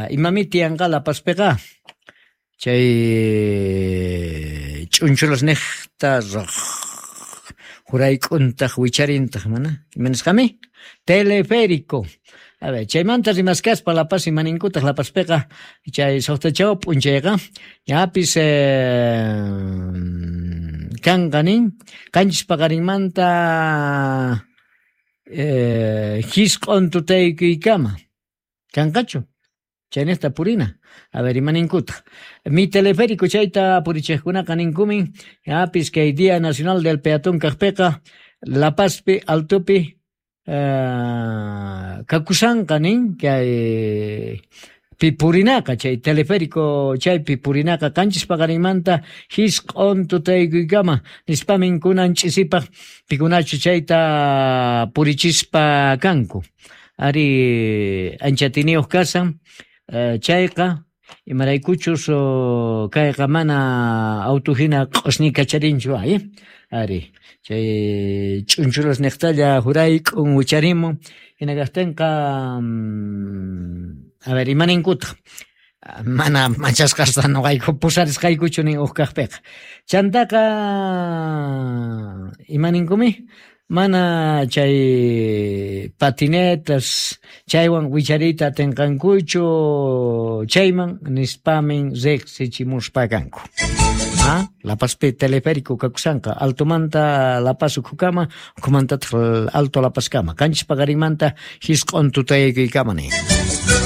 Imami tiyanqa La Pazpiqa? Chay ch'unchulas nejta jurayk'untaj wicharintaq mana ima nisqami? Teleférico. A ver, chaymanta rimaskaspa La Paz imaninkutaq La Pazpiqa chay suqta chawa p'unchayqa ñapis kanqa nin qanchis paqarinmanta jisq'on tutaykuykama kanqachu? Chaynejta purina. A ver, imaninkutaj. Mi teleférico chayta purichejkunaqa ninkumin, ñapis kay Día Nacional del Peatón kajpeqa La Pazpi altopi kakushanqa nin kay pi purinaqa chay teleférico chaypi purinaqa qanchis paqarinmanta jisq'on tutaykuykama nispamin kunan ch'isipaj pikunachu chayta purichispa kanku. Ari ancha atiyniyuq kashan chayqa imaraykuchus kayqa mana auto hina q'osñi kacharinchu ay ari chay ch'unchulas niqtalla jurayk'un wicharimun hina kaqtinqa a ver imaninkutaq mana machasqasta noqayku pusarisqaykuchu nin uj kaqpiqa chantaqa imaninkumi mana chay patinetas chaywan wichariyta atinqankuchu chayman nispamin riqsichimuspa kanku. Ah, La Pazpi teleférico kakushanqa altomanta La Paz ukhukama ukhumantataq alto La Pazkama qanchis paqarinmanta jisq'on tutaykuykama nin.